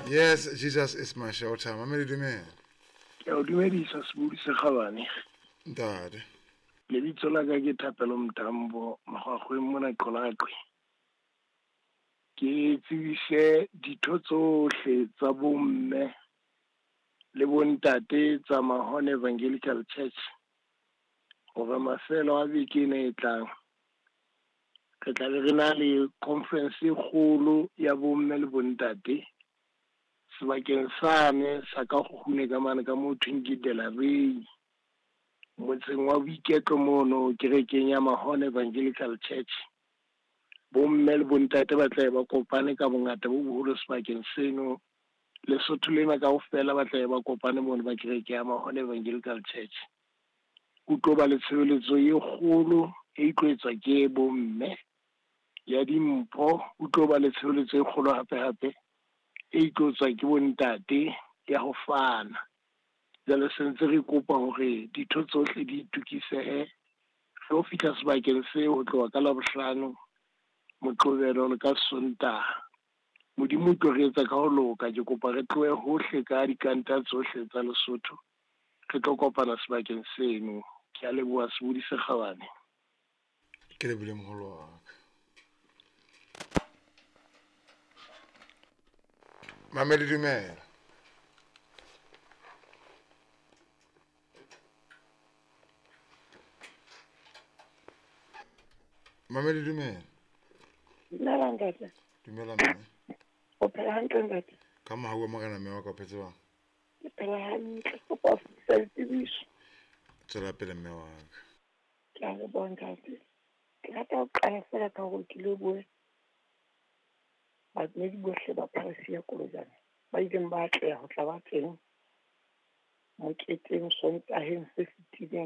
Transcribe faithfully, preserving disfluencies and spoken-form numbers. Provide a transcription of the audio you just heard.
Yes, Jesus is my shelter. Mamedi dumela. Ke a o dumedisa sebodi se kgabane. Ntate. Lebitso la ka ke Thapelo Mtambo, Makgwakgweng mona Qolaqwe. Ke tsebise ditho tsohle tsa bomme le bontate tsa Mahone Evangelical Church hore mafelo a beke ena e tlang re tla be re na le conference e kgolo ya bomme le bontate sebakeng sane sa ka kgune ka mane ka moo thweng ke Delarey, motseng wa Boiketlo mono kerekeng ya Mahone Evangelical Church. Bomme le bontate ba tla ba kopane ka bongata bo boholo sebakeng seno. Lesotho lena kaofela ba tla ba kopane mono ba kereke ya Mahone Evangelical Church. Ho tlo ba le tshebeletso e kgolo e tlo etswa ke bomme ya dimpho. Ho tlo ba le tshebeletso e kgolo hape hape e tlo tswa ke bontate ya ho fana. Jwale se ntse re kopa hore ditho tsohle di itokisehe re ho fihla sebakeng seo ho tloha ka Labohlano, Moqebelo le ka Sontaha. Modimo o tlo re etsa ka ho loka. Ke kopa re tlohe hohle ka dikanta tsohle tsa Lesotho re tlo kopana sebakeng seno. Ke a leboha sebodi se kgabane. Ke lebohile moholo wa ka. Mamedi dumela. Mamedi dumela. Dumela ntate. Dumela mme. O phela hantle ntate? Ka mohau wa Morena mme wa ka o phetse jwang? Ke phela hantle, kopa ho fetisa ditsebiso. Tswela pele mme wa ka. Ke a leboha ntate. Ke rata ho qala feela ka hore ke lebohe badumedi bohle ba parish ya Kolojane ba ileng ba atleha ho tla ba teng moketeng Sontaheng se fetileng.